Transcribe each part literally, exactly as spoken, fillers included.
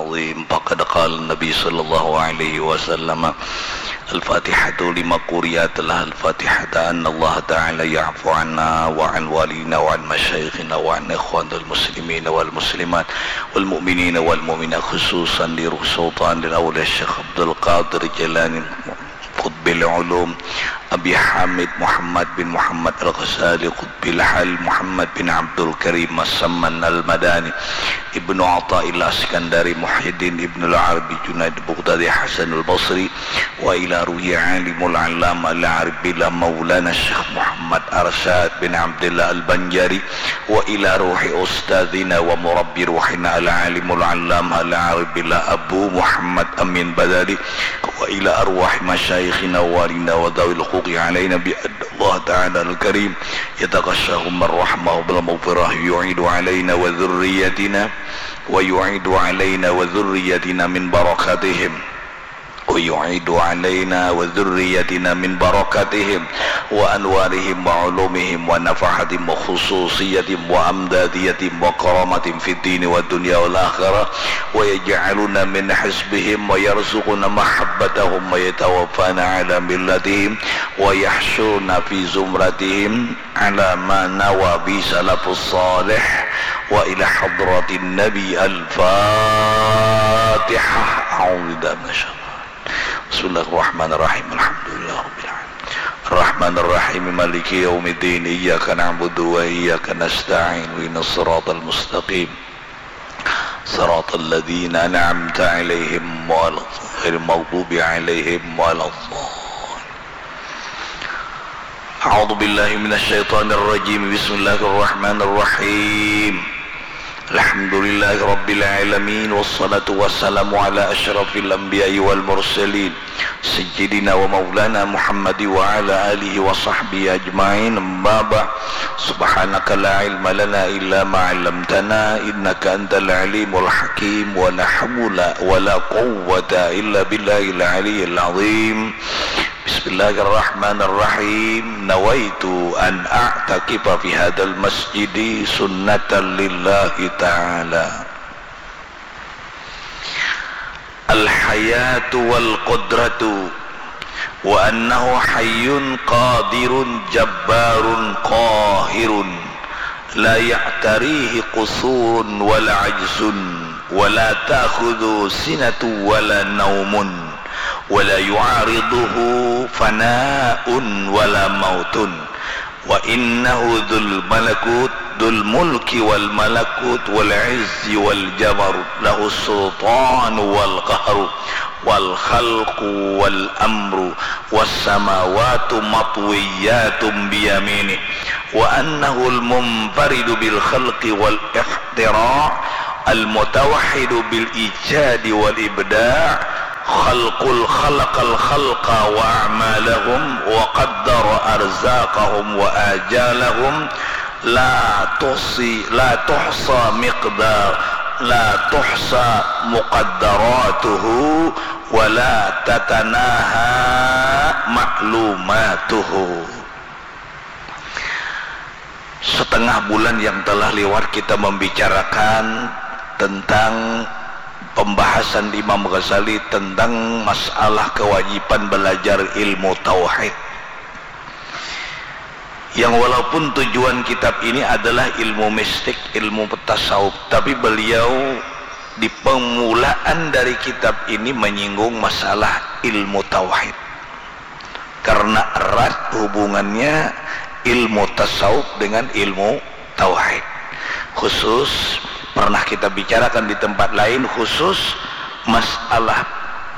العظيم. فقد قال النبي صلى الله عليه وسلم: الفاتحة لما قرئت لها الفاتحة، أن الله تعالى يعفو عنا وعن والدينا وعن مشايخنا وعن إخواننا المسلمين والمسلمات والمؤمنين والمؤمنات، خصوصا لروح سلطان الأولياء الشيخ عبد القادر الجيلاني قطب العلوم، أبي حامد محمد بن محمد الغزالي قطب الحل، محمد بن عبد الكريم السمن المدني، ابن عطاء الله السكندري، محي الدين ابن العربي، جنيد البغدادي، حسن البصري، وإلى روح عالم العلامة العارف بالله مولانا الشيخ محمد أرشاد بن عبد الله البنجاري، وإلى روح أستاذنا ومربي روحنا العالم العلامة العارف بالله أبو محمد أمين بدالي، وإلى أرواح مشايخنا ووالينا وذوي الحقوق علينا، بأن الله تعالى الكريم يتغشاهم الرحمة بالمغفرة، يعيد علينا وذريتنا، ويعيد علينا وذريتنا من بركاتهم، ويعيد علينا وذريتنا من بركاتهم وأنوارهم وعلومهم ونفحاتهم وخصوصيتهم وأمداديتهم وكرامتهم في الدين والدنيا والآخرة، ويجعلنا من حزبهم ويرزقنا محبتهم ويتوفانا على ملتهم ويحشرنا في زمرتهم على ما نوى به سلف الصالح وإلى حضرة النبي. الفاتحة. أعوذ بالله من الشيطان. بسم الله الرحمن الرحيم. الحمد لله رب العالمين. الرحمن الرحيم. مالك يوم الدين. إياك نعبد وإياك نستعين. اهدنا الصراط المستقيم. صراط الذين أنعمت عليهم ولا الضالين. غير المغضوب عليهم ولا الضالين. أعوذ بالله من الشيطان الرجيم. بسم الله الرحمن الرحيم. الحمد لله رب العالمين، والصلاة والسلام على أشرف الأنبياء والمرسلين، سيدنا ومولانا محمد وعلى آله وصحبه أجمعين. أما بعد، سبحانك لا علم لنا إلا ما علمتنا، إنك أنت العليم الحكيم، ولا حول ولا قوة إلا بالله العلي العظيم. بسم الله الرحمن الرحيم. نويت أن أعتكف في هذا المسجد سنة لله تعالى. الحياة والقدرة، وأنه حي قادر جبار قاهر، لا يعتريه قصور ولا عجز، ولا تأخذه سنة ولا نوم، ولا يعارضه فناء ولا موت، وإنه ذو الملكوت، ذو الملك والملكوت والعز والجبروت، له السلطان والقهر والخلق والأمر، والسماوات مطويات بيمينه، وأنه المنفرد بالخلق والاختراع، المتوحد بالإيجاد والإبداع، خلق ال-، خلق الخلق وأعمالهم وقدر أرزاقهم وآجالهم، لا تحصي، لا تحصى مقدار، لا تحصى مقدراته، ولا تتناهى معلوماته. Setengah bulan yang telah lewat kita membicarakan tentang pembahasan Imam Ghazali tentang masalah kewajiban belajar ilmu tauhid. Yang walaupun tujuan kitab ini adalah ilmu mistik, ilmu tasawuf, tapi beliau di permulaan dari kitab ini menyinggung masalah ilmu tauhid. Karena erat hubungannya ilmu tasawuf dengan ilmu tauhid. Khusus pernah kita bicarakan di tempat lain, khusus masalah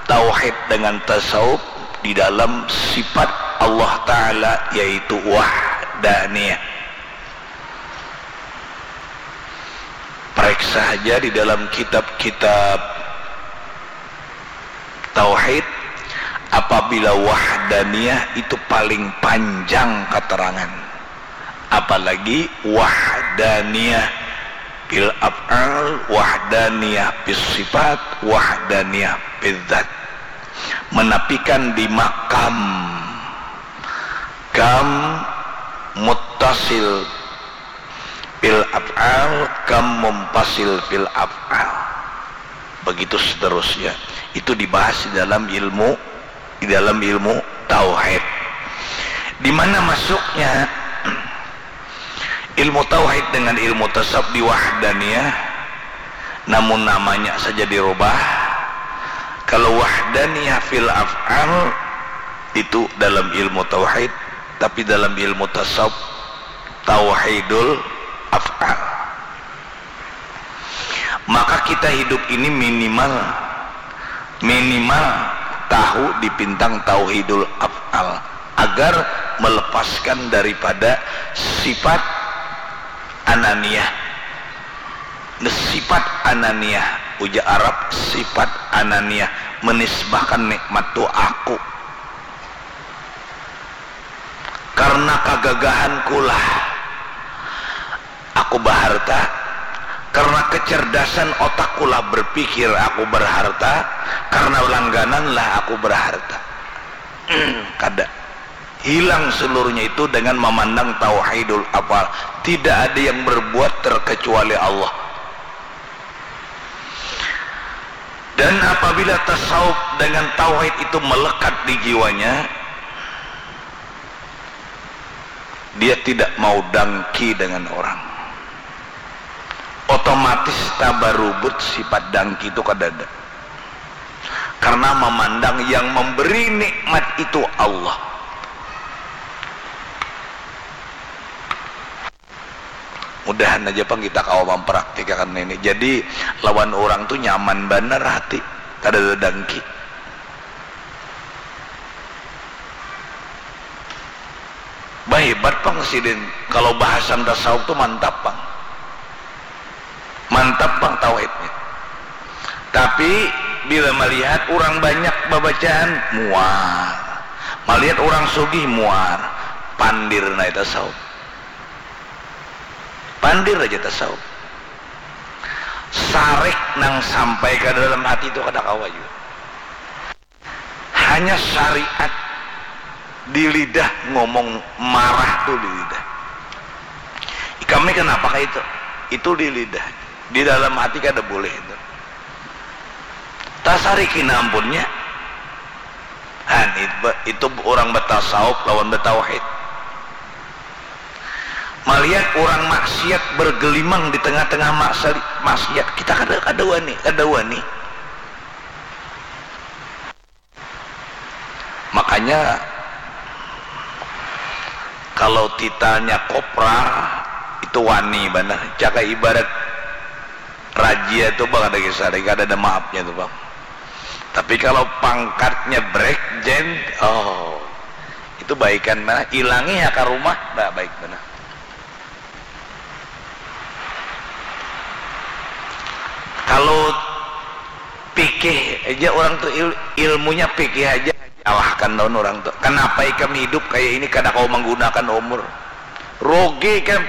tauhid dengan tasawuf di dalam sifat Allah Ta'ala, yaitu wahdaniyah. Periksa saja di dalam kitab-kitab tauhid, apabila wahdaniyah itu paling panjang keterangan, apalagi wahdaniyah fil af'al, wahdaniyah fis sifat, wahdaniyah fil dzat, menafikan di makam. Kam muttasil fil af'al, kam munfasil fil af'al. Begitu seterusnya. Itu dibahas di dalam ilmu, di dalam ilmu tauhid. Di mana masuknya ilmu tauhid dengan ilmu tasawuf? Di wahdaniyah, namun namanya saja dirubah. Kalau wahdaniyah fil af'al, itu dalam ilmu tauhid, tapi dalam ilmu tasawuf, tauhidul af'al. Maka kita hidup ini minimal, minimal tahu di pintang tauhidul af'al agar melepaskan daripada sifat ananiyah. Sifat ananiyah, ujar Arab, sifat ananiyah, menisbahkan nikmat tu aku. Karena kagagahankulah aku baharta, karena kecerdasan otakkulah berpikir aku berharta, karena langgananlah aku berharta. Kada. Hilang seluruhnya itu dengan memandang tauhidul af'al. Tidak ada yang berbuat terkecuali Allah. Dan apabila tasawuf dengan tauhid itu melekat di jiwanya, dia tidak mau dangki dengan orang. Otomatis tabarubut sifat dangki itu kadada. Karena memandang yang memberi nikmat itu Allah. Mudahan aja pang kita kawa mamparaktikakan ini. Jadi lawan urang tu nyaman banar hati, kadada dangki. Bah, hebat pang sidin, kalau bahasan tasawuf tu mantap pang. Mantap pang tauhidnya. Tapi bila malihat urang banyak babacaan, muar. Malihat urang sugih, muar. Pandir nai tasawuf. Pandir aja tasawuf. Sarik nang sampai ka dalam hati tu kada kawa jua. Hanya syariat di lidah ngomong, marah tu di lidah. Ikam ni kenapa kaitu? Itu di lidah. Di dalam hati kada bulih itu. Tasariki nah ampunnya. Han, it-, itu urang batasawuf lawan batauhid. Malihat urang maksiat bergelimang di tengah-tengah maksali-, maksiat, kita kada, kada wani, kada wani. Makanya, kalau titanya kopra, itu wani banar. Jaka ibarat razia tu, bah, kada kisah, kada ada maafnya tu, Bang. Tapi kalau pangkatnya brigjen, oh, itu baikan banar. Ilangi ha ka rumah, ba-, baik banar. Kalau pikih aja orang tu il-, ilmunya pikih aja, salahkan lawan orang tu. Kenapa ikam hidup kayak ini, kada kau menggunakan umur? Rugi ikam.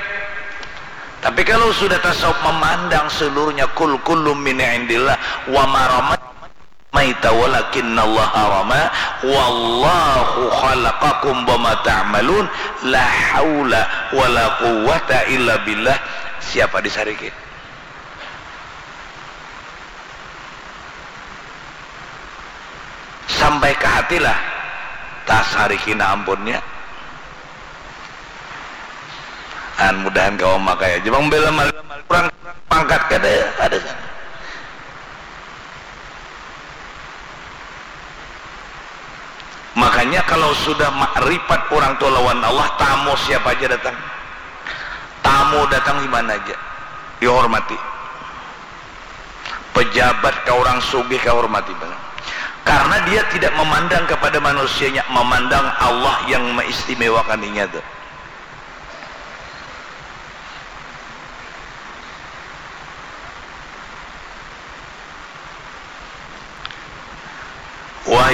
Tapi kalau sudah tasawuf memandang seluruhnya, kul kullum min indillah wa ma ramaita walakinnallaha rama, wallahu khalaqakum wa ma ta'malun, la haula wala quwwata illa billah. Siapa disariki? Sampai ka hati lah, tasariki nah ampunnya. An, mudahan kawa makai aja. Bang, bela mal-, kurang pangkat kada ada sana. Makanya kalau sudah makrifat orang tua lawan Allah, tamu siapa aja datang. Tamu datang di mana aja, dihormati. Pejabat kah, orang sugih kah, hormati banar. Karena dia tidak memandang kepada manusianya, memandang Allah yang meistimewakan inya tu. Wa